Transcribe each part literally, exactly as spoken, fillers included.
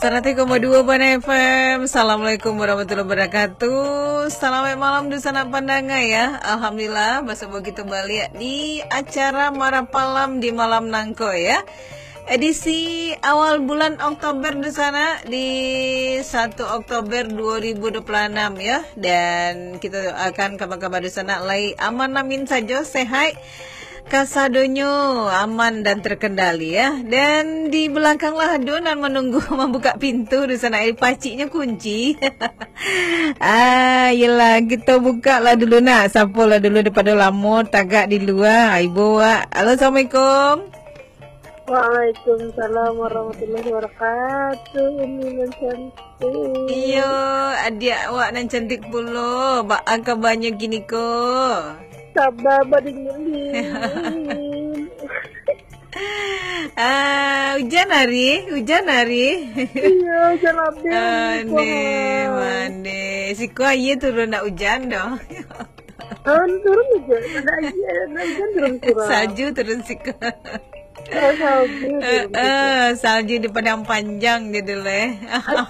Saratus koma dua Bana F M. Assalamualaikum warahmatullahi wabarakatuh. Salamaik malam dunsanak pandanga, ya. Alhamdulillah, basamo kito baliak di acara Marapalam di malam nangko, ya. Edisi awal bulan Oktober dunsanak, di satu Oktober dua ribu dua puluh enam, ya. Dan kito akan kaba-kaba dunsanak lai aman-amin sajo, sehat. Kasadonyo aman dan terkendali, ya. Dan di belakang lah ado nan manunggu mambuka pintu dunsanak, eh, paciknyo kunci. Ah, yelah, kito buka lah dulu nak. Sapo lah dulu daripado lamo tagak di lua. Ibu, wak. Halo, assalamualaikum. Waalaikumsalam warahmatullahi wabarakatuh, Umi nan cantik. Iyo, adiak awak nan cantik pulo. Baa kabanyo kini ko? Kaba badingin-dingin. Ah, ujan hari, ujan hari. Iyo, ujan abih. Ane, mane. Siko aia turun, ndak ujan doh. Turun, turun ujan. Ada aia, ada ujan turun surang. Salju turun siko. Oh, salju turun siko. Eh, eh, salju di Padang Panjang jadi leh.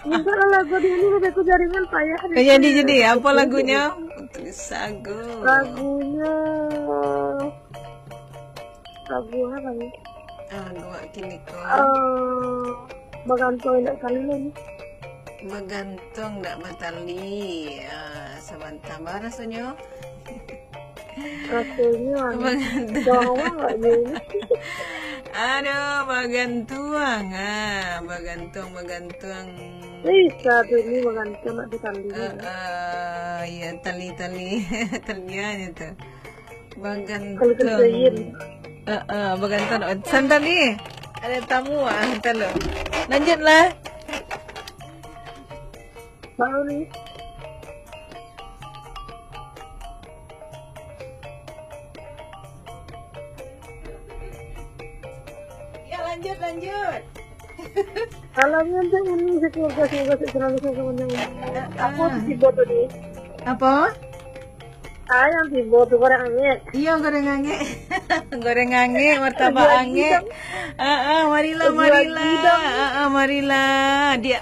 Minta lagu di ini, lagu jaringan payah. Jadi, jadi, apa lagunya? Putus asa. Lagunya, lagu apa ni? Ah, lagu awak kini ko. Eh, Bagantuang Indak Tali ni. Bagantuang Indak Batali. Ah, sabanta, ba rasonyo? Rasonyo, anu, bagantuang. Bawang agaknyo ini. Aduh, bagantuang. Ah, bagantuang, bagantuang. Eh, satu ni bagantuang nak batali. Eh, eh, ya, tali-tali. Talian itu. Bagantuang. Kalau kerjain. Eh, eh, bagantuang. Santai ni. Ada tamu, ah, santai lo. Lanjutlah. Baru ni. Ya, lanjut, lanjut. Salamnya untuk Uni sekeluarga, semoga sehat selalu, semoga panjang umur. Ah, apa tu tiba tadi? Apa? Ah, yang tiba tu goreng angek. Iya, goreng angek. Goreng angek, martabak angek. Ah, ah, marilah, marilah. Ah, ah, marilah. Dia